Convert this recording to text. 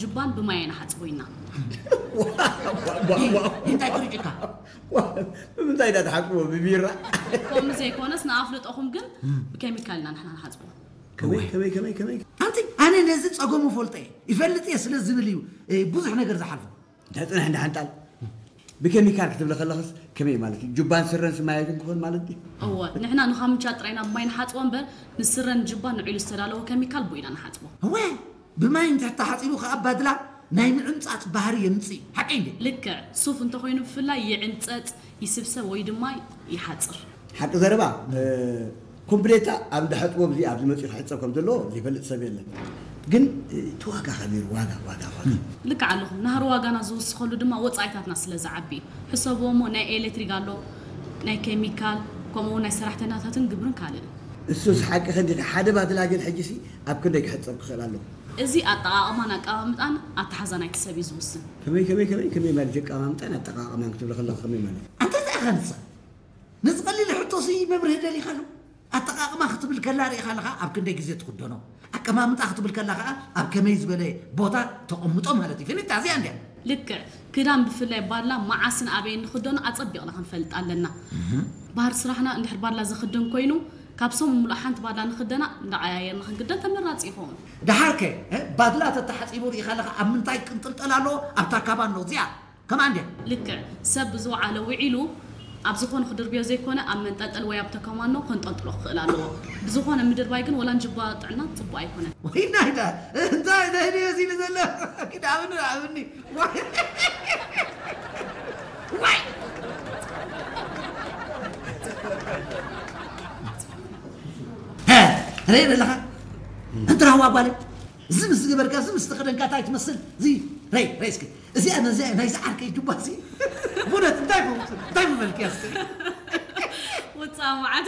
ጅባን ብማይ ኣይንሓጽቦ ኢና። እንታይ ትርጭካ? ብምንታይ ዳ ትሓጽቦ? ብቢራ? ከምኡ ዘይኮነስ ንኣፍልጦኹም ግን ብኬሚካል ኢና ንሕና ንሓጽቦ። ከመይ ከመይ ከመይ ከመይ ኣንቲ ኣነ ነዚ ጸገሙ ፈልጠ እየ ይፈልጥ እየ ስለ ዝብል እዩ ብዙሕ ነገር ዝሓልፎ። እንታይ ጽንሕ እንዳ ሓንጣል ብኬሚካል ክትብለ ከለኽስ ከመይ ማለት እዩ? ጁባን ስረን ስማያትን ክኾን ማለት ድዩ? እወ፣ ንሕና ንኻምቻ ጥራይና ብማይ ንሓጽቦ እምበር ንስረን ጁባን ንዒሉ ዝተዳለወ ኬሚካል ብኡ ኢና ንሓጽቦ። እወ፣ ብማይ እንተተሓጺቡ ከኣ ባድላ ናይ ምዕምጻጽ ባህሪ የምጽእ። ሓቀይ እንዴ? ልክዕ፣ ሱፍ እንተኾይኑ ብፍላይ ይዕምጸጽ፣ ይስብሰብ ወይ ድማ ይሓጽር። ሓቂ ዘረባ ኮምፕሌታ ኣብ ድሕጥቦ እዚ ኣብዚ መፂኡ ክሕፀብ ከም ዘለዎ ዘይፈልጥ ሰብ የለን። ግን እቲ ዋጋ ከቢሩ ዋጋ ዋጋ ዋጋ ልክዕ ኣለኹም። ናህሪ ዋጋና ዝውስኸሉ ድማ ወፃኢታትና ስለ ዝዓቢ እዩ። ሕሰብዎ እሞ ናይ ኤሌክትሪክ ኣሎ፣ ናይ ኬሚካል፣ ከምኡ እውን ናይ ሰራሕተኛታትን ግብርን ካልእን። እሱስ ሓቂ ከንዲ ሓደ ባትላገል ሕጂ ሲ ኣብ ክንደይ ክሕፀብ ክኽእል ኣለዎ? እዚ ኣጠቓቕማን ኣቀማምጣን ኣተሓዛ ናይቲ ሰብ እዩ ዝውስን። ከመይ ከመይ ከመይ ከመይ ማለት ኣቀማምጣን ኣጠቓቕማን ክትብል ከለኻ ከመይ ማለት? ኣንተ እንታይ ኢኻ ንሳ ነዚ ቀሊል ሕቶሲ መብርሂ ደሊኻሉ? ኣጠቓቕማ ክትብል ከላ ርኢኻ ኣለኻ ኣብ ክንደይ ግዜ ትኽደኖ፣ ኣቀማምጣ ክትብል ከላ ከዓ ኣብ ከመይ ዝበለ ቦታ ተቐምጦ ማለት እዩ። ፍልጥ እዚኣ እንድያ። ልክዕ። ክዳን ብፍላይ ባድላ መዓስን ኣበይን ንኽደኖ ኣጸቢቕና ክንፈልጥ ኣለና። ባህር ስራሕና እንድሕር ባድላ ዝኽደን ኮይኑ ካብ ሰሙን ሙሉእ ሓንቲ ባድላ ንኽደና እንዳቐያየርና ክንክደን ተመራፂ ይኸውን። ደሓርከ ባድላ ተተሓፂቡ ርኢኻ ኣለኻ ኣብ ምንታይ ቅንጥልጠል ኣለዎ? ኣብታ ካባኖ እዚኣ። ከማን ድያ? ልክዕ ሰብ ብዝወዓለ ውዒሉ ኣብ ዝኾነ ክድርብዮ ዘይኮነ ኣብ መንጠልጠል ወይ ኣብ ተከማኖ ከንጠልጥሎ ክኽእል ኣለዎ። ብዝኾነ ምድርባይ ግን ወላ ንጅባ ጥዕና ፅቡቅ ኣይኮነን። ወይ ናይዳ እንታይ እንታይ ድዮ ሲሉ ዘሎ? ኪድ ኣብኒ ኣብኒ ዋይ ዋይ ሀ ሬ ዘለኻ እንትና ዋጓለ ዝም ዝገበርካ ዝም ዝተኸደንካ እንታይ ትመስል? እዚ ረይ ረይ እስኪ እዚኣ ነዚኣ ናይዚ ዓርከይ ጁባ እዚ ብእውነት እንታይ እንታይ ምበልክያ እስኪ ውፃእ መዓት